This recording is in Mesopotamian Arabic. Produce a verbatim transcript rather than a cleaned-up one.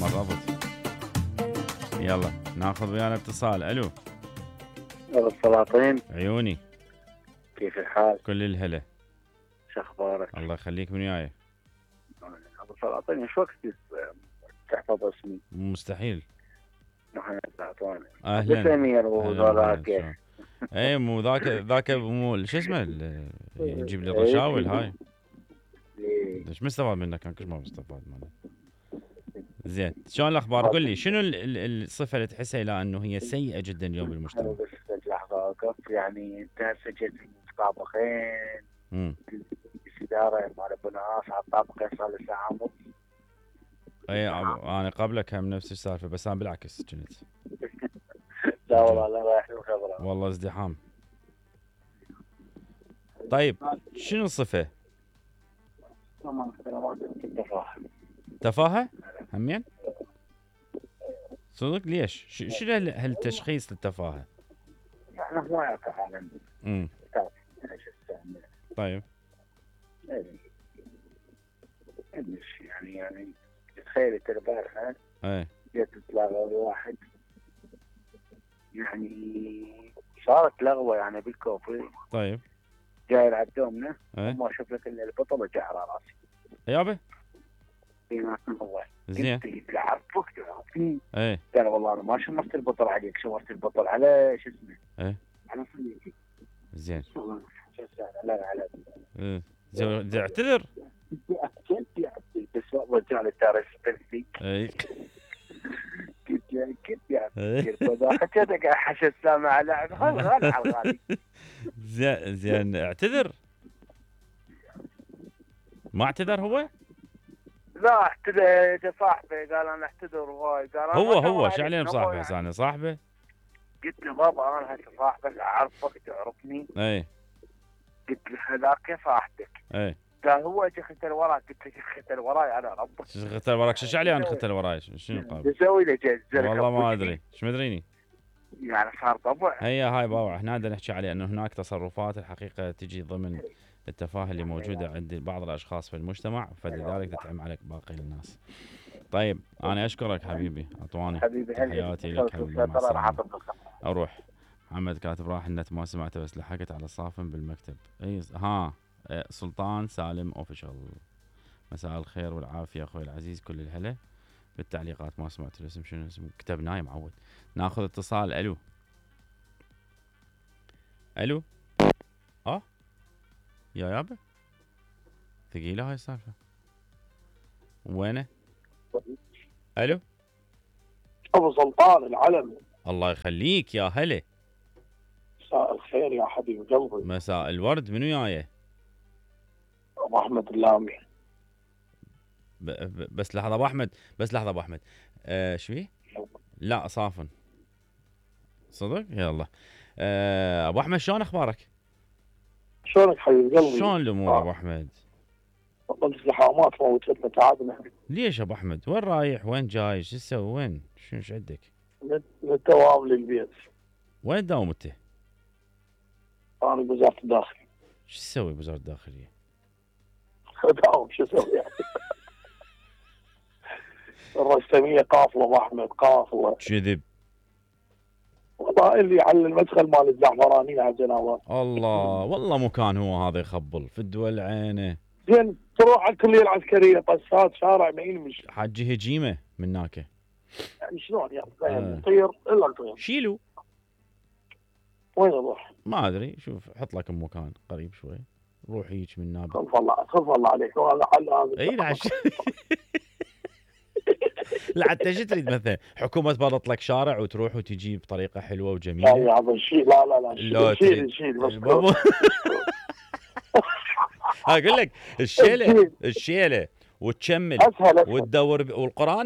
مرضت. يلا ناخذ ويانا اتصال. الو ابو السلاطين، عيوني، كيف الحال؟ كل الهلا. شو اخبارك؟ الله يخليك، من وياي؟ ابو السلاطين، شو وقت تحفظ اسمي؟ مستحيل. محمد العطواني. اهلا. بس امير وذاك. اي مو ذاك ذاك مو شو اسمه يجيب لي رشاول هاي. ليش مستفاد منك؟ كان كل ما مستفاد منك. زين، شلون الاخبار؟ قل لي شنو الصفه اللي تحسها الى انه هي سيئه جدا اليوم بالمجتمع؟ بس لحظه اوقف، يعني انت هسه جيت طابقين امم الاداره مال ابو نواف على الطابقين صار له ساعه ونص. اي انا قبلك هم نفس السالفه، بس انا بالعكس كنت. لا والله لا رايح له خبره. والله ازدحام. طيب شنو الصفه؟ تفاهه. تفاهه؟ همين؟ صدق ليش؟ شنو هالتشخيص للتفاهه؟ يعني ما يعرف عالم. امم طيب يعني يعني تخيل انت البارحه ايه جيت تلاقي واحد، يعني صارت لغوه يعني بالكوفي. طيب جاي يلعب دومنا ايه وما اشوف لك الا البطل وجع على راسي. يابا في هو زين تلعب فوق تعرفني. ايه قال والله انا ما شمرت البطل عليك، شمرت البطل على شو اسمه؟ ايه على صديقي. زين لا لا على ايه زين اعتذر. بس رجع لي تاريخ بنتي. ايه كنت كنت يعني حكيتك حشد سامع على غالي على الغالي. زين زين اعتذر. ما اعتذر هو؟ لا اعتذر صاحبي، قال انا اعتذر وهاي قال هو هو شو عليه بصاحبه هسه انا صاحبه؟ قلت له بابا انا هسه صاحبك اعرفك تعرفني. اي قلت له هذاك كيف راحتك؟ اي قال هو اجى ختل وراك. قلت له ختل وراي انا ربك. شو ختل وراك؟ شو عليه انا ختل وراي؟ شنو قابل؟ تسوي له جزر؟ والله ما ادري، شو مدريني؟ يعني صار طبع. هي هاي باوع، احنا بدنا نحكي عليه انه هناك تصرفات الحقيقه تجي ضمن التفاهه اللي موجوده عند بعض الاشخاص في المجتمع، فلذلك تتعم عليك باقي الناس. طيب انا اشكرك حبيبي عطواني، تحياتي لك. اروح. محمد كاتب راح النت ما سمعته بس لحقت على صافن بالمكتب. اي ها سلطان سالم اوفيشال. مساء الخير والعافيه اخوي العزيز، كل الهلا. بالتعليقات ما سمعت الاسم، شنو اسمه؟ كتبناه معود. ناخذ اتصال. الو الو اه يا يابا ثقيله هاي السالفه. وينه؟ الو ابو سلطان العلم. الله يخليك يا هلا. مساء الخير يا حبيب قلبي. مساء الورد، من وياي؟ ابو احمد اللامي. ب... ب... بس لحظه ابو احمد، بس لحظه ابو احمد. آه شو فيه؟ لا صافن صدق. يلا آه ابو احمد شلون اخبارك؟ شلونك حبيب قلبي؟ شلون الامور ابو احمد؟ والله الزحامات موتتنا تعبنا. ليش ابو احمد؟ وين رايح؟ وين جاي؟ شو تسوي؟ وين؟ شو ايش عندك؟ من الدوام للبيت. وين تداوم انت؟ انا بوزاره الداخليه. شو تسوي بوزاره الداخليه؟ داوم شو اسوي يعني؟ الرسميه قافله ابو احمد، قافله. كذب. والله اللي على المدخل مال الزعفرانيه على الجناوات. الله والله مكان هو هذا يخبل في الدول عينه. زين تروح على الكليه العسكريه طسات شارع ما ينمشي. حجي هجيمه من هناك. يعني شلون يعني؟ نطير الا نطير. شيلوا. وين اروح؟ ما ادري، شوف حط لك مكان قريب شوي، روح هيك من نابل. خلف الله خلف الله عليك. والله حل هذا. اي لا لا حتى شو تريد مثلا؟ حكومه تبرط لك شارع وتروح وتجي بطريقه حلوه وجميله. لا يا هذا شيء. لا لا لا شيل شيل بس. اقول لك الشيله الشيله وتشمل وتدور والقران